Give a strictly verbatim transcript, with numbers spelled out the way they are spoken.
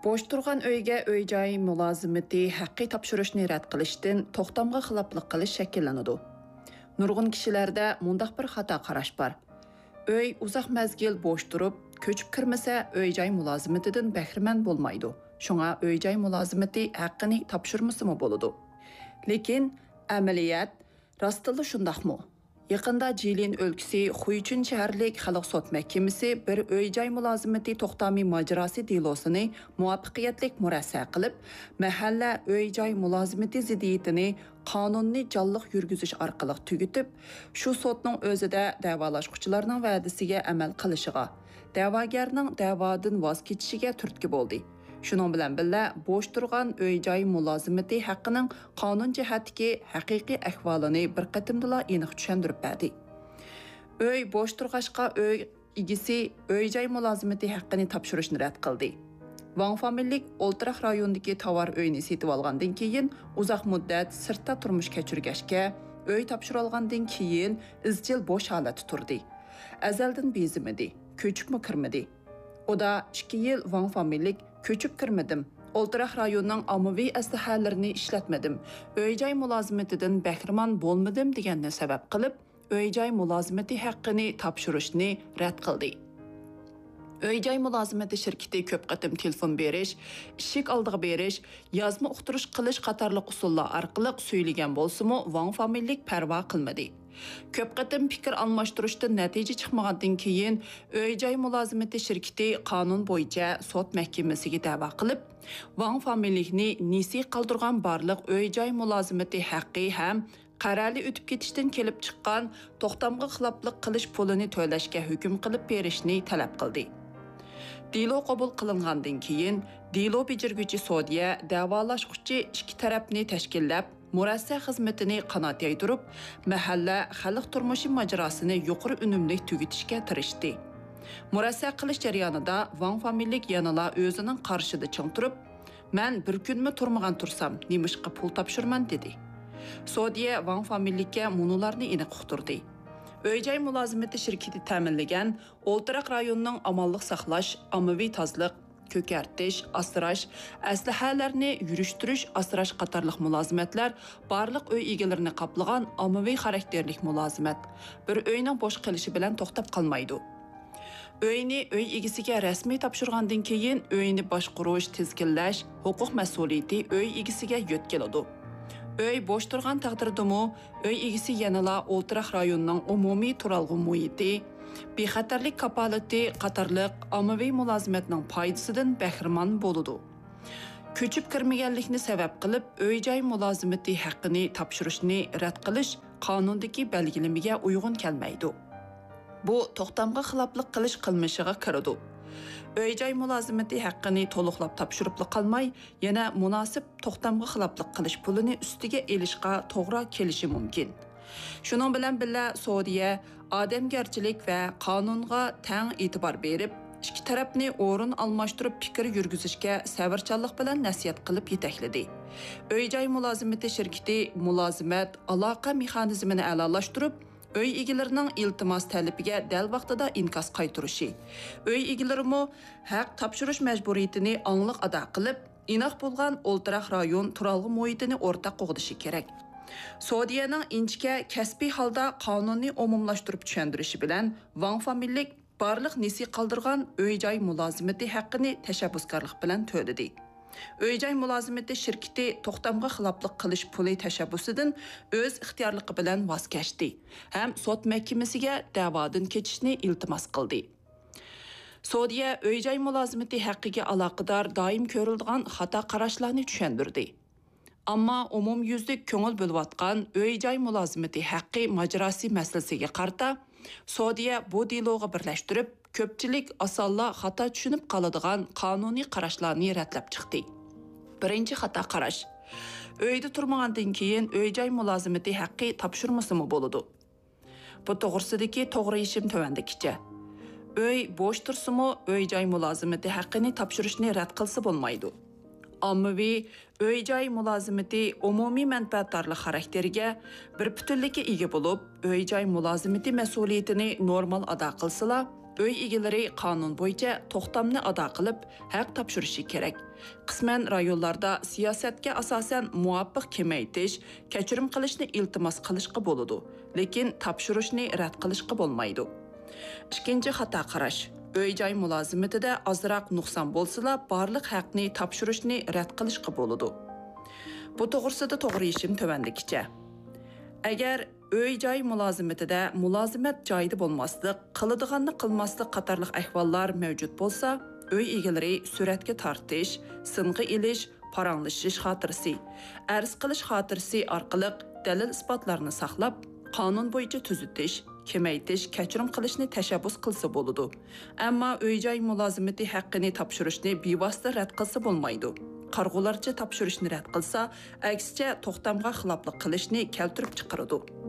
بوش تۇرغان ئۆيگە ئۆي-جاي مۇلازىمىتى ھەققى تاپشۇرۇشنى رەت قىلىشتىن توختامغا خىلاپلىق قىلىش شەكىللىنىدۇ. نۇرغۇن كىشىلەردە مۇنداق بىر خاتا قاراش بار. ئۆي ئۇزاق مەزگىل بوش تۇرۇپ، كۆچۈپ كىرمىسە، ئۆي-جاي مۇلازىمىتىدىن بەھرىمەن بولمايدۇ. شۇڭا ئۆي-جاي مۇلازىمىتى ھەققىنى تاپشۇرمىسىمۇ بولىدۇ. لېكىن ئەمەلىيەت راستتىنلا شۇنداقمۇ؟ يېقىندا جىلىن ئۆلكىسى خۇيچۈن شەھەرلىك خەلق سوت مەھكىمىسى بىر ئۆي-جاي مۇلازىمىتى توختامى ماجىراسى دېلوسىنى مۇۋەپپەقىيەتلىك مۇرەسسە قىلىپ، مەھەللە ئۆي-جاي مۇلازىمىتى زىددىيىتىنى قانۇننى جانلىق يۈرگۈزۈش ئارقىلىق تۈگىتىپ، شۇ سوتنىڭ ئۆزىدە دەۋالاشقۇچىلارنىڭ ۋەدىسىگە ئەمەل قىلىشىغا، دەۋاگەرنىڭ دەۋادىن ۋاز كېچىشىگە تۈرتكە بولدى. شۇنىڭ بىلەن بىللە، بوش تۇرغان ئۆي-جاي مۇلازىمىتى ھەققىنىڭ قانۇن جەھەتتىكى ھەقىقىي ئەھۋالىنى بىر قېتىمدىلا ئېنىق چۈشەندۈرۈپ بەردى. ئۆي بوش تۇرغاچقا، ئۆي ئىگىسى ئۆي-جاي مۇلازىمىتى ھەققىنى تاپشۇرۇشنى رەت قىلدى. ۋاڭ فامىلىلىك ئولتۇراق رايوندىكى تاۋار ئۆينى سېتىۋالغاندىن كېيىن، ئۇزاق مۇددەت سىرتتا تۇرمۇش كەچۈرگەچكە، ئۆي تاپشۇرۇۋالغاندىن كېيىن ئىزچىل بوش ھالەتتە تۇردى. ئەزەلدىن بېزىمىدى، كۆچۈپمۇ كىرمىدى. ئۇدا ئىككى يىل ۋاڭ فامىلىلىك كۆچۈپ كىرمىدىم، ئولتۇراق رايوننىڭ ئاممىۋى ئەسلىھەلىرىنى ئىشلەتمىدىم، ئۆي-جاي مۇلازىمىتىدىن بەھرىمەن بولمىدىم دېگەننى سەۋەب قىلىپ، ئۆي-جاي مۇلازىمىتى ھەققىنى تاپشۇرۇشنى رەت قىلدى. ئۆي-جاي مۇلازىمىتى شىركىتى كۆپ قېتىم تېلېفون بېرىش، ئىشىك ئالدىغا بېرىش، يازما ئۇقتۇرۇش قىلىش قاتارلىق ئۇسۇللار ئارقىلىق سۈيلىگەن بولسىمۇ، ۋاڭ فامىلىلىك پەرۋا قىلمىدى. كۆپ قېتىم پىكىر ئالماشتۇرۇشتىن نەتىجە چىقمىغاندىن كېيىن، ئۆي-جاي مۇلازىمىتى شىركىتى قانۇن بويىچە سوت مەھكىمىسىگە دەۋا قىلىپ، ۋاڭ فامىلىلىكنى نېسى قالدۇرغان بارلىق ئۆي-جاي مۇلازىمىتى ھەققى ھەم قەرەلى ئۆتۈپ كېتىشتىن كېلىپ چىققان توختامغا خىلاپلىق قىلىش پۇلىنى تۆلەشكە ھۆكۈم قىلىپ بېرىشنى تەلەپ قىلدى. دېلو قوبۇل قىلىنغاندىن كېيىن، دېلو بېجىرگۈچى سودىيە دەۋالاشقۇچى ئىككى تەرەپنى تەشكىللەپ، مۇرەسسە خىزمىتىنى قانات يايدۇرۇپ، مەھەللە خەلق تۇرمۇشى ماجىراسىنى يۇقىرى ئۈنۈملۈك تۈگىتىشكە تىرىشتى. مۇرەسسە قىلىش جەريانىدا ۋاڭ فامىلىلىك يەنىلا ئۆزىنىڭ قارىشىدا چىڭ تۇرۇپ، مەن بىر كۈنمۇ تۇرمىغان تۇرسام، نېمىشقا پۇل تاپشۇرىمەن؟ دېدى. سودىيە ۋاڭ فامىلىلىككە مۇنۇلارنى ئېنىق ئۇقتۇردى. ئۆي-جاي مۇلازىمىتى شىركىتى تەمىنلىگەن ئولتۇراق رايوننىڭ ئامانلىق ساقلاش، ئاممىۋى تازىلىق، كۆكەرتىش، ئاسراش، ئەسلىھەلەرنى يۈرۈشتۈرۈش، ئاسراش قاتارلىق مۇلازىمەتلەر بارلىق ئۆي ئىگىلىرىنى قاپلىغان ئاممىۋى خاراكتېرلىك مۇلازىمەت. بىر ئۆينىڭ بوش قېلىشى بىلەن توختاپ قالمايدۇ. ئۆينى ئۆي ئىگىسىگە رەسمىي تاپشۇرغاندىن كېيىن، ئۆينى باشقۇرۇش، تىزگىنلەش ھوقۇق مەسئۇلىيىتى ئۆي ئىگىسىگە يۆتكىلىدۇ. ئۆي بوش تۇرغان تەقدىردىمۇ، ئۆي ئىگىسى يەنىلا ئولتۇراق رايوننىڭ ئومۇمىي تۇرالغۇ مۇھىتى، بىخەتەرلىك كاپالىتى قاتارلىق ئاممىۋى مۇلازىمەتنىڭ پايدىسىدىن بەھرىمەن بولىدۇ. كۆچۈپ كىرمىگەنلىكنى سەۋەب قىلىپ، ئۆي-جاي مۇلازىمىتى ھەققىنى تاپشۇرۇشنى رەت قىلىش قانۇندىكى بەلگىلىمىگە ئۇيغۇن كەلمەيدۇ. بۇ توختامغا خىلاپلىق قىلىش قىلمىشىغا كىرىدۇ. ئۆي-جاي مۇلازىمىتى ھەققىنى تولۇقلاپ تاپشۇرۇپلا قالماي، يەنە مۇناسىپ توختامغا خىلاپلىق قىلىش پۇلىنى ئۈستىگە ئېلىشقا توغرا كېلىشى مۇمكىن. شۇنىڭ بىلەن بىللە، سودىيە ئادەمگەرچىلىك ۋە قانۇنغا تەڭ ئېتىبار بېرىپ، ئىككى تەرەپنى ئورۇن ئالماشتۇرۇپ پىكىر يۈرگۈزۈشكە سەۋرچانلىق بىلەن نەسىھەت قىلىپ يېتەكلىدى. ئۆي-جاي مۇلازىمىتى شىركىتى مۇلازىمەت، ئالاقە مېخانىزمىنى ئەلالاشتۇرۇپ، ئۆي ئىگىلىرىنىڭ ئىلتىماس تەلىپىگە دەل ۋاقتىدا ئىنكاس قايتۇرۇشى، ئۆي ئىگىلىرىمۇ ھەق تاپشۇرۇش مەجبۇرىيىتىنى ئاڭلىق ئادا قىلىپ، ئىناق بولغان ئولتۇراق رايون تۇرالغۇ مۇھىتىنى ئورتاق قوغدىشى كېرەك. سودىيەنىڭ ئىنچىكە، كەسپىي ھالدا قانۇننى ئومۇملاشتۇرۇپ چۈشەندۈرۈشى بىلەن، ۋاڭ فامىلىلىك بارلىق نېسى قالدۇرغان ئۆي-جاي مۇلازىمىتى ھەققىنى تەشەببۇسكارلىق بىلەن تۆلىدى. ئۆي-جاي مۇلازىمىتى شىركىتى توختامغا خىلاپلىق قىلىش پۇلى تەشەببۇسىدىن ئۆز ئىختىيارلىقى بىلەن ۋاز كەچتى ھەم سوت مەھكىمىسىگە دەۋادىن كېچىشنى ئىلتىماس قىلدى. سودىيە ئۆي-جاي مۇلازىمىتى ھەققىگە ئالاقىدار دائىم كۆرۈلىدىغان خاتا قاراشلارنى چۈشەندۈردى. ئەمما ئومۇميۈزلۈك كۆڭۈل بۆلۈۋاتقان ئۆي-جاي مۇلازىمىتى ھەققى ماجىراسى مەسىلىسىگە قارىتا، سودىيە بۇ دېلوغا بىرلەشتۈرۈپ، كۆپچىلىك ئاسانلا خاتا چۈشىنىپ قالىدىغان قانۇنىي قاراشلارنى رەتلەپ چىقتى. بىرىنچى خاتا قاراش. ئۆيدە تۇرمىغاندىن كېيىن ئۆي-جاي مۇلازىمىتى ھەققى تاپشۇرمىسىمۇ بولىدۇ. بۇ توغرىسىدىكى توغرا يېشىم تۆۋەندىكىچە. ئۆي بوش تۇرسىمۇ، ئۆي-جاي مۇلازىمىتى ھەققىنى تاپشۇرۇشنى رەت قىلسا بولمايدۇ. ئاممىۋى ئۆي-جاي مۇلازىمىتى ئومۇمىي مەنپەئەتدارلىق خاراكتېرىگە، بىر پۈتۈنلۈككە ئىگە بولۇپ، ئۆي-جاي مۇلازىمىتى مەسئۇلىيىتىنى نورمال ئادا قىلسىلا، ئۆي ئىگىلىرى قانۇن بويىچە توختامنى ئادا قىلىپ، ھەق تاپشۇرۇشى كېرەك. قىسمەن رايونلاردا سىياسەتكە ئاساسەن مۇۋاپىق كېمەيتىش، كەچۈرۈم قىلىشنى ئىلتىماس قىلىشقا بولىدۇ، لېكىن تاپشۇرۇشنى رەت قىلىشقا بولمايدۇ. ئىككىنچى خاتا قاراش. ئۆي-جاي مۇلازىمىتىدە ئازراق نۇقسان بولسىلا، بارلىق ھەقنى تاپشۇرۇشنى رەت قىلىشقا بولىدۇ. بۇ توغرىسىدا توغرا يېشىم تۆۋەندىكىچە. ئەگەر ئۆي-جاي مۇلازىمىتىدە مۇلازىمەت جايىدا بولماسلىق، قىلىدىغاننى قىلماسلىق قاتارلىق ئەھۋاللار مەۋجۇت بولسا، ئۆي ئىگىلىرى سۈرەتكە تارتىش، سىنغا ئېلىش، پاراڭلىشىش خاتىرىسى، ئەرز قىلىش خاتىرىسى ئارقىلىق دەلىل-ئىسپاتلارنى ساقلاپ، قانۇن بويىچە تۈزىتىش، كېمەيتىش، كەچۈرۈم قىلىشنى تەشەببۇس قىلسا بولىدۇ. ئەمما ئۆي-جاي مۇلازىمىتى ھەققىنى تاپشۇرۇشنى بىۋاسىتە رەت قىلسا بولمايدۇ. قارىغۇلارچە تاپشۇرۇشنى رەت قىلسا، ئەكسىچە توختامغا خىلاپلىق قىلىشنى كەلتۈرۈپ چىقىرىدۇ.